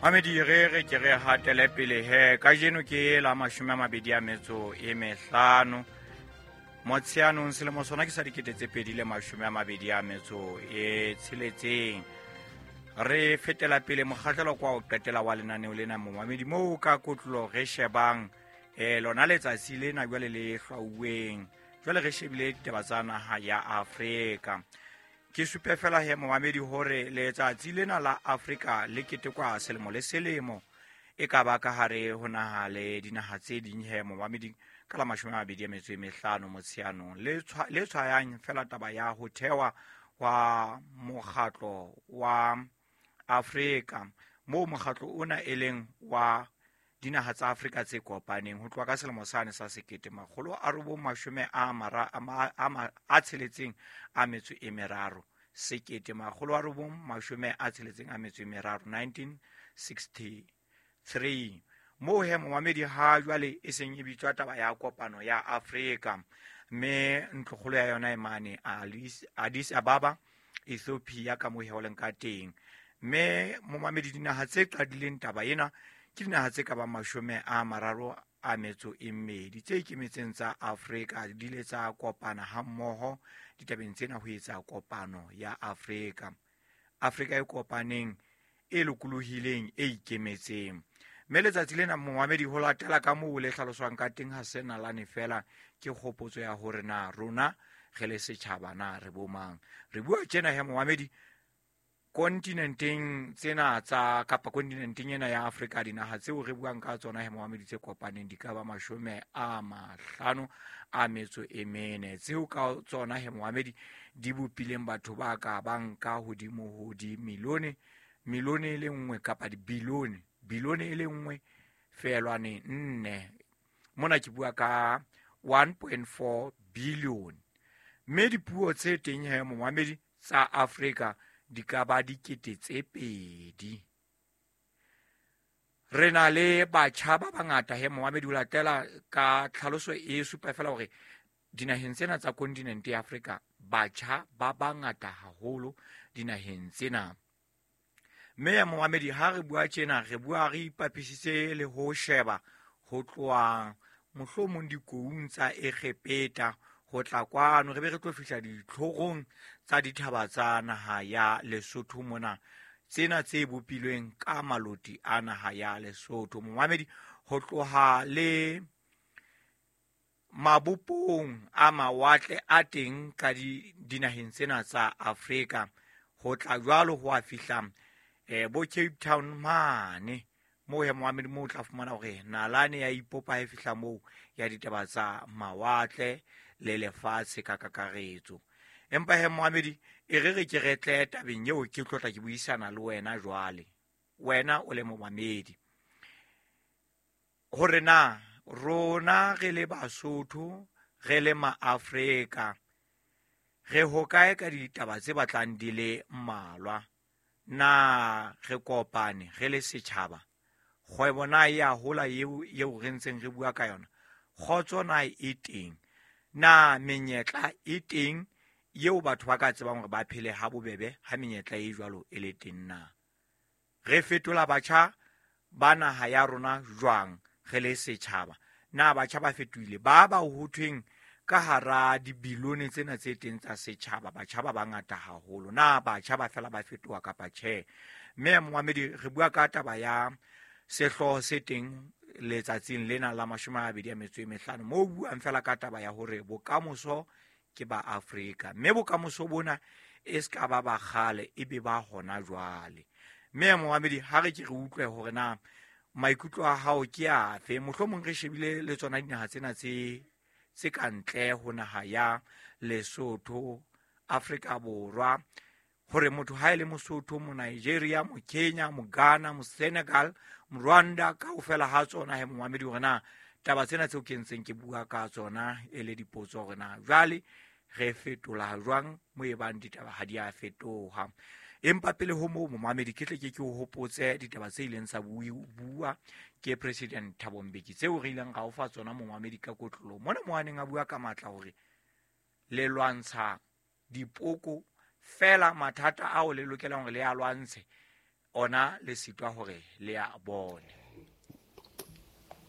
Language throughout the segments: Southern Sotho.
Mamedi, re re ke re hatele pele he. Kajeno ke la 25 Motsheanong, selemo sona ke sa 2026. Re fetela pele mokgahlelo kwa o qetela wa lenaneo lena, momamedi, moo ka kotlolo re shebang lona letsatsi lena jwale le hlwauweng. Jwale re shebile ditaba tsa naha ya Afrika. Ke supe fela he, momamedi, hore letsatsi lena la Afrika le ketekwa selemo le selemo, e ka ba ka hare ho naha le dinaha tse ding he, momamedi, ka la 25 Motsheanong, le tshwayang fela taba ya ho thewa wa mokgatlo wa Afrika, moo mokgatlo ona e leng wa dinaha tsa Afrika tse kopaneng ho tloha ka selemo sane sa 1963, 1963, moo he, momamedi, ha jwale e seng e bitswa taba ya kopano ya Afrika, mme ntlokgolo ya yona e mane Addis Ababa, Ethiopia, ka moo he ho leng ka teng. Mme momamedi, dinaha tse qadileng taba ena ke dinaha tse ka bang 32 tse ikemetseng tsa Afrika, di ile tsa kopana hammoho ditabeng tsena ho etsa kopano ya Afrika, Afrika e kopaneng, e lokolohileng, e ikemetseng. Mme letsatsi lena, momamedi, ho latela ka moo le hlaloswang ka teng, ha se nalane fela, ke kgopotso ya hore na rona re le setjhaba na re bomang. Re bua tjena he, momamedi, kontinenteng tsena tsa kapa kontinenteng ena ya Afrika, dinaha tseo re buang ka tsona he, momamedi, tse kopaneng di ka ba 54, tseo ka tsona he, momamedi, di bopileng batho ba ka bang ka hodimo ho di milione, milione e le nngwe kapa dibilione, bilione e le 1.4. Mona ke bua ka 1.4 billion. Mme dipuo tse teng he, momamedi, tsa Afrika di ka ba 2000. Re na le batjha ba bangata he, momamedi, ho latela ka tlhaloso e supa fela hore dinaheng tsena tsa kontinente ya Afrika batjha ba bangata haholo dinaheng tsena. Mme ya momamedi, ha re bua tjena, re bua re ipapisitse le ho sheba ho tloha mohlomong dikoung tsa Egepeta ho tla kwano, re be re tlo fihla ditlhorong tsa dithaba tsa naha ya Lesotho mona, tsena tse bopilweng ka maloti a naha ya Lesotho, momamedi, ho tloha le mabopong a mawatle a teng ka dinaheng tsena tsa Afrika, ho tla jwalo ho a fihla bo Cape Town mane moo he, momamedi, moo o tla fumana hore nalane ya ipopa ha e fihla moo ya ditaba tsa mawatle le lefatshe ka kakaretso. Empa he, momamedi, e re re ke re tle tabeng eo ke tlotla ke buisana le wena jwale, wena o le momamedi, hore na rona re le Basotho, re le Maafrika, re hokae ka ditaba tse batlang di le mmalwa. Na re kopane re le setjhaba? Kgwebo na e a hola eo re ntseng re bua ka yona? Kgotso na e teng? Na menyetla e teng eo batho ba ka tsebang hore ba phele ha bobebe ha menyetla e jwalo e le teng? Na re fetola batjha ba naha ya rona jwang re le setjhaba? Na batjha ba fetohile ba ho thweng ka hara dibilione tsena tse teng tsa setjhaba, batjha ba bangata haholo? Na batjha ba fela ba fetoha kapa tjhe? Mme momamedi, re bua ka taba ya sehlooho se teng letsatsing lena la 25, moo buang fela ka taba ya hore bokamoso ke ba Afrika, mme bokamoso bona e se ka ba ba kgale, e be ba hona jwale. Mme momamedi, ha re ke re utlwe hore na maikutlo a hao ke afe. Mohlomong re shebile le tsona dinaha tsena tse ka ntle ho naha ya Lesotho, Afrika Borwa, hore motho ha e le Mosotho, Monigeria, Mokenya, Moghana, Mosenegal, Morwanda, kaofela ha tsona he, momamedi, hore na taba tsena tseo ke ntseng ke bua ka tsona e le dipotso, hore na jwale re fetola jwang mo e bang ditaba ha di a fetoha. Empa pele ho moo, momamedi, ke tle ke o hopotse ditaba tse ileng tsa bua ke President Thabo Mbeki, tseo re ileng ra o fa tsona, momamedi, ka kotlolo mona, mo a neng a bua ka matla hore le lwantsha dipoko fela, mathata ao le lokelang hore le a lwantshe. Ona le sitwa hore le a bone.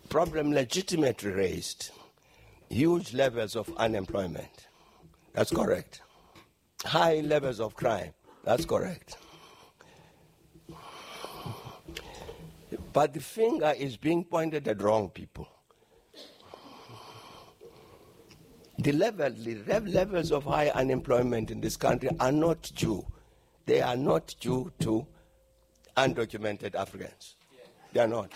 Problem legitimately raised. Huge levels of unemployment. That's correct. High levels of crime. That's correct. But the finger is being pointed at wrong people. The levels of high unemployment in this country are not due. They are not due to undocumented Africans. They are not.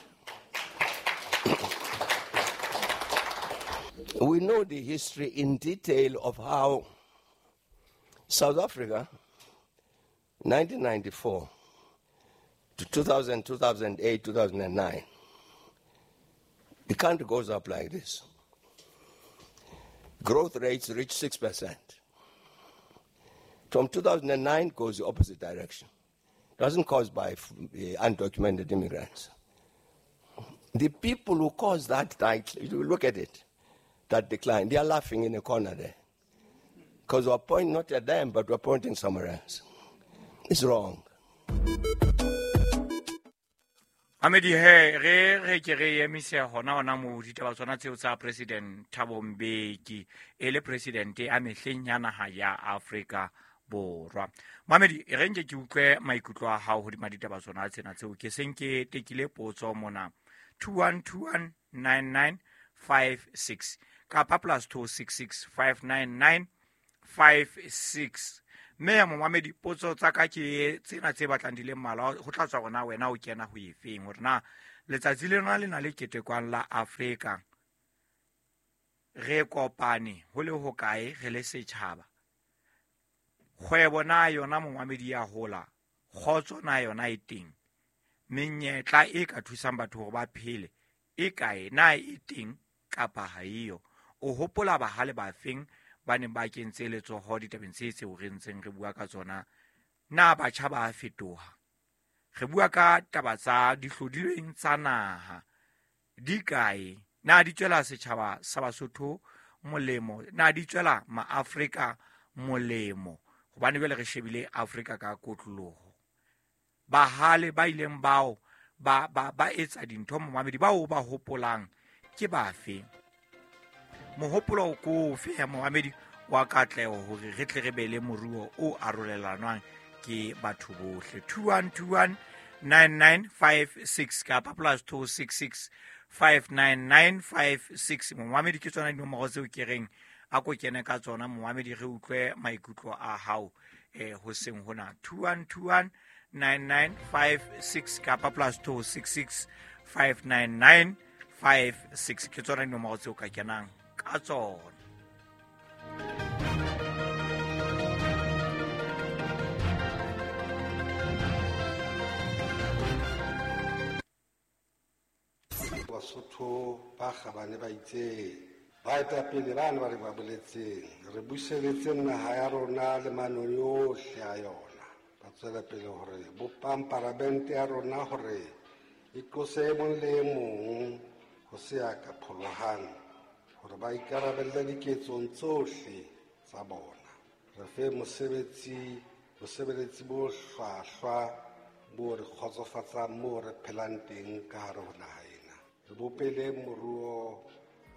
We know the history in detail of how South Africa, 1994 to 2000, 2008, 2009, the country goes up like this. Growth rates reach 6%. From 2009 goes the opposite direction. It wasn't caused by undocumented immigrants. The people who caused that, you look at it, that decline, they are laughing in a corner there. Because we're pointing not at them, but we're pointing somewhere else. It's wrong. Amedi he re ke re emise hona mo ditaba tsona tseo tsa President Thabo Mbeki e le president a mehleng ya naha ya Afrika Borwa. Mamedi re nke ke utlwe maikutlo a hao hodima ditaba tsona tsena tseo ke seng ke tekile potso mona 21219956 kapa +266 599 56. Mme ya momamedi potso tsa ka ke tsena tse batlang di le mmalwa ho tla tswa rona wena o kena ho efeng hore na letsatsi lena le na le ketekwang la Afrika re kopane ho le hokae re le setjhaba. Kgwebo na yona momamedi ya hola, kgotso na yona e teng, menyetla e ka thusang batho hore ba phele e kae, na e teng kapa ha eyo. O hopola bahale ba feng ba neng ba kentse letsoho ditabeng tse tseo re ntseng re bua ka tsona? Na batjha ba fetoha? Re bua ka taba tsa dihlodilweng tsa naha di kae? Na di tswela setjhaba sa Basotho molemo? Na di tswela maAfrika molemo? Hobane jwale re shebile Afrika ka kotloloho. Bahale ba ileng bao ba etsa dintho momamedi bao ba hopolang ke bafe? Mohopolo ko ofe ya momamedi wa katleho hore re tle re be le moruo o arolelanwang ke batho bohle? 21219956 kapa +266 59956. Momamedi ke tsona dinomoro tseo ke reng a ko kene ka tsona momamedi re utlwe maikutlo a hao ho seng hona. 21219956 kapa +266 59956 ke tsona dinomoro tseo ka kenang ka tsona. Basotho ba kgabane ba itse baetapele ba ne ba re ba boletseng re buseletse naha ya rona le manong yohle a yona. Ba tswela pele hore bopang paramente ya rona hore e tlose e mong le e mong ho se ya ka pholohang hore ba ikarabelle diketsong tsohle tsa bona. Re fe bosebeletsi bo hlwahlwa bo re kgotsofatsang moo re phelang teng ka hare ho naha ena. Re bopele moruo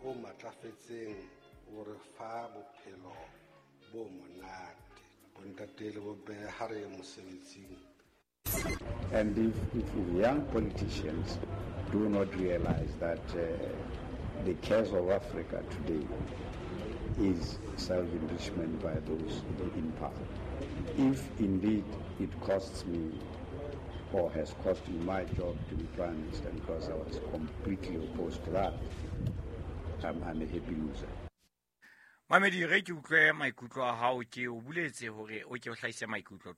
o matlafetseng o re fa bophelo bo monate. Bontate le bomme ha re ye mosebetsing. And if young politicians do not realize that the case of Africa today is self-enrichment by those in power. If indeed it costs me or has cost me my job to be Prime Minister because I was completely opposed to that, I'm a happy loser. Mamedi re ke utlwe maikutlo a hao, ke o buletse hore o ke o hlahise maikutlo.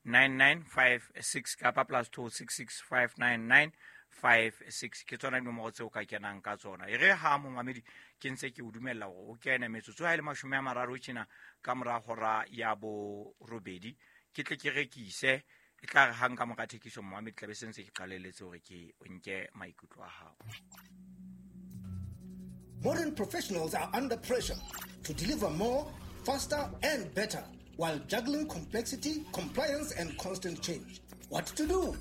21219956 kapa +266 59956 ke tsona dinomoro tseo ka kenang ka tsona. E re ha momamedi ke ntse ke o dumella hore o kene metsotso ha e le 30 tjena ka mora hora ya borobedi ke tle ke rekise e tla re hang ka mora thekiso momamedi tla be se ntse ke qalelletse hore ke o nke maikutlo a hao. Modern professionals are under pressure to deliver more, faster, and better while juggling complexity, compliance, and constant change. What to do?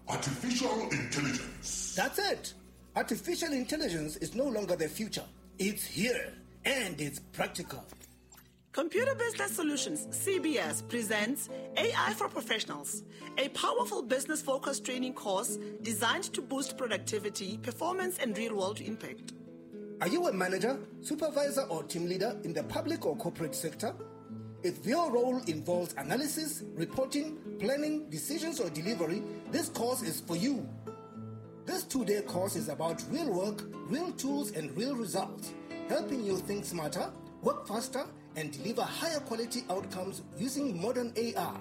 Artificial intelligence. That's it. Artificial intelligence is no longer the future. It's here and it's practical. Computer Business Solutions, CBS, presents AI for Professionals, a powerful business focused training course designed to boost productivity, performance, and real world impact. Are you a manager, supervisor, or team leader in the public or corporate sector? If your role involves analysis, reporting, planning, decisions, or delivery, this course is for you. This 2-day course is about real work, real tools, and real results, helping you think smarter, work faster, and deliver higher quality outcomes using modern AI.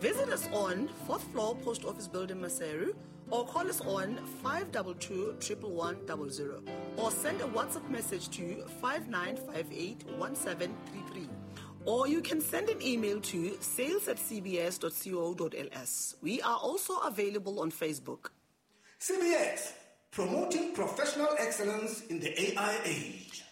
Visit us on 4th floor Post Office Building, Maseru, or call us on 522 11100 or send a WhatsApp message to 5958 1733. Or you can send an email to sales at cbs.co.ls. We are also available on Facebook. CBS, promoting professional excellence in the AI age.